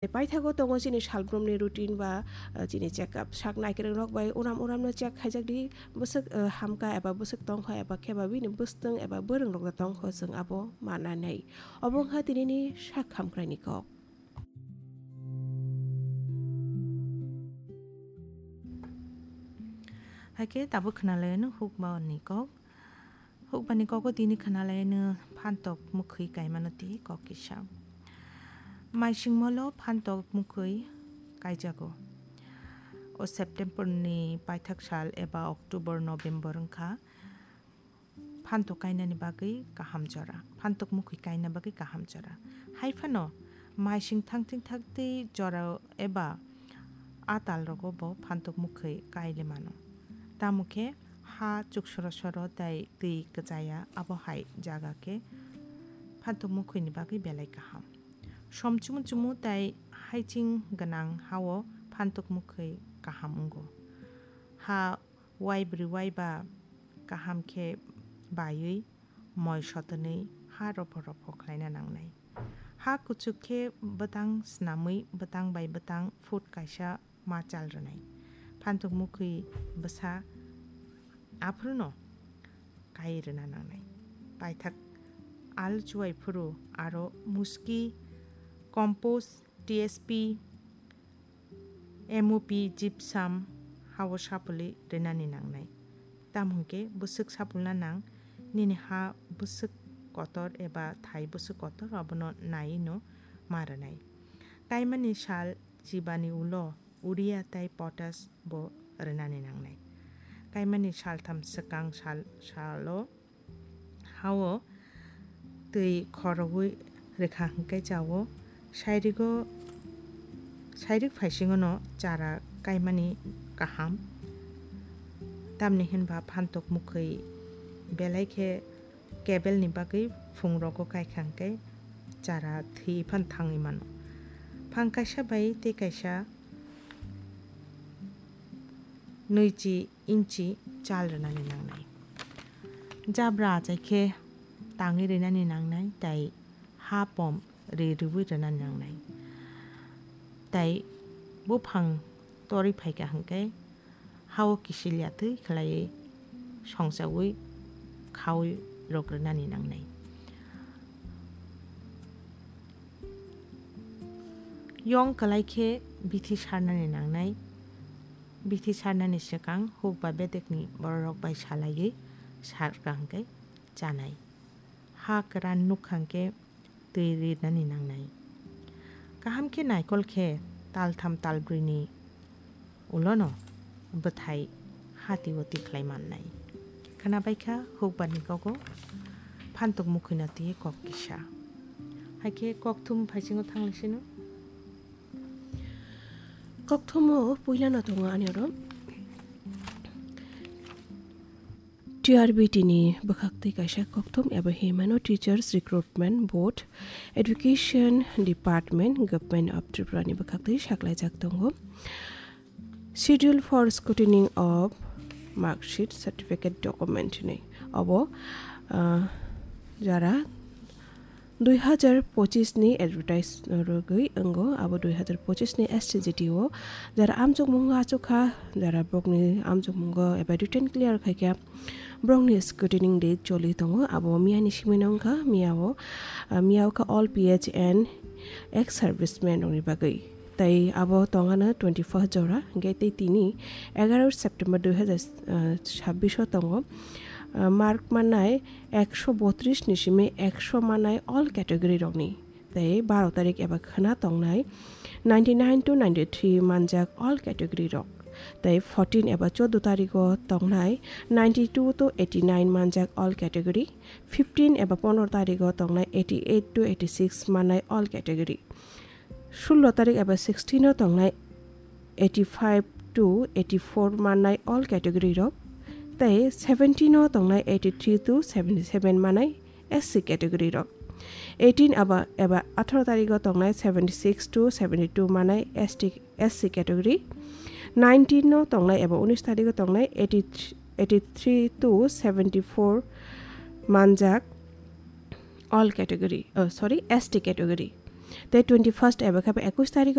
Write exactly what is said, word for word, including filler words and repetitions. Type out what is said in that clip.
Paithago tongo chini salbrumni routine ba, uh, chini check up. Sak naikwrwng rok bai uram uram no check khaijak di, bwswk, uh, hamkha eba bwswk tongkha eba khe ba bini bwstwng eba bwrwng rok da tongkho, chwng abo mananai. Obo wngkha tinini sak hamkrai ni kok. Haikhe tabuk khwnalaino hukba ni kok. Hukbani kogo tini khwnalaino phantok mukhwi kaimano tei kok kisa. Maisingmolo phantok mukhwi kaijago. O September ni paithak sal eba October, November wngkha phantok kainani bagwi kaham jora, phantok mukhwi kaina bagwi kaham jora. Hai phano maising thangthing thangtwi jora eba a tal rogo bo phantok mukhwi kaile mano. Tamo khe ha chuksoro soro tei twi kwchaya, abo hai jaga khe phantok mukhwini bagwi belai kaham. Som chumu chumu tei haiching gwnang hao phantok mukhwi kaham wngo. Ha waibrwi waiba kaham khe baiwi moi sotonwi ha ropho ropho khlaina nangnai. Ha kuchuk khe bwtang snamwi bwtang bai bwtang foot kaisa ma chal rwnai. Phantok mukhwi bwsa aphruno kai rwna nangnai. Paithak al chuai phuru aro muski, compost, T S P, M O P, gypsum hao sapulwi rwnani nangnai. Tamo hwnkhe bwswk sapulna nang, nini ha bwswk kotor eba thai bwswk kotor, abono naiwi no ma rwnai. Kaimani sal chibani ulo urea tei potash bo rwnani nangnai. Kaimani saltham swkang sal, salo hao twi khorogwi rwkha hwnkhe chao, sairigo, sairik phaisingono chara kaimani kaham. Tamni hinba phantok mukhwi belai khe kebelni bagwi phungrogo kaikha hwnkhe chara thwi phan thangwi mano. Phang kaisa bai tei kaisa nui chi inchi chal rwnani nangnai. Jabra achai khe tangwi rwnani nangnai tei ha pom ri rwui rwnani nangnai. Tei buphang torwi phaikha hwnkhe hao kisil yatwi khlaiwi songchaui khaui rok rwnani nangnai. Yong kwlai khe bithi sarnani nangnai. Bithi sarnani swkang huk ba bedekni bororok bai salaiwi sarkha hwnkhe chanai. Ha kwran nukha hwnkhe twi rinani nangnai. Kaham khe naikol khe taltham talbrini ulono bwthai hati-uti khlai mannai. Khwnabaikha hukbarni kogo phantok mukhwino twi kok kisa. Haikhe kokthum phaisingo thanglaisino. Kokthumo puilano tongo ani oro T R B T ni bwkhaktwi kaisa kokthum eba hinmano Teachers Recruitment Board, Education Department, Government of Tripura ni bwkhaktwi saklaijak tongo. Schedule for Scrutiny of Marksheet Certificate Document hinwi. Obo, ah, jara dui hazar pochis ni advertise rwgwi wngo, abo dui hazar pochis ni S T G T o jara amchukmungo achukha, jara bokni amchukmungo eba written clear khaikha, borokni scrutiny date choli tongo, abo miyani simino wngkha, miyao, ah, miya wngkha all P H and ex servicemen rokni bagwi. Tei abo tongano twenty first jora, hingke tei tini egaroh September dui hazar sabbish o tongo. Ah, mark mannai ekso botris ni simi ekso mannai all category rokni. Tei baro tarik eba khwna tongnai ninety nine to ninety three manjak all category rok. Tei fourteen eba chordo tarigo tongnai ninety two to eighty nine manjak all category. Fifteen eba pondro tarigo tongnai eighty eight to eighty six mannai all category. Sullo tarik eba sixteen o tongnai eighty five to eighty four mannai all category rok, tei seventeen o tongnai eighty three to seventy seven mannai S C category rok. Eighteen eba, eba atharo tarigo tongnai seventy six to seventy two mannai S T, S C category. Nineteen o tongnai eba unis tarigo tongnai eighty, eighty three to seventy four manjak all category, oh, sorry, S T category. tei twenty first eba khe ekush tarik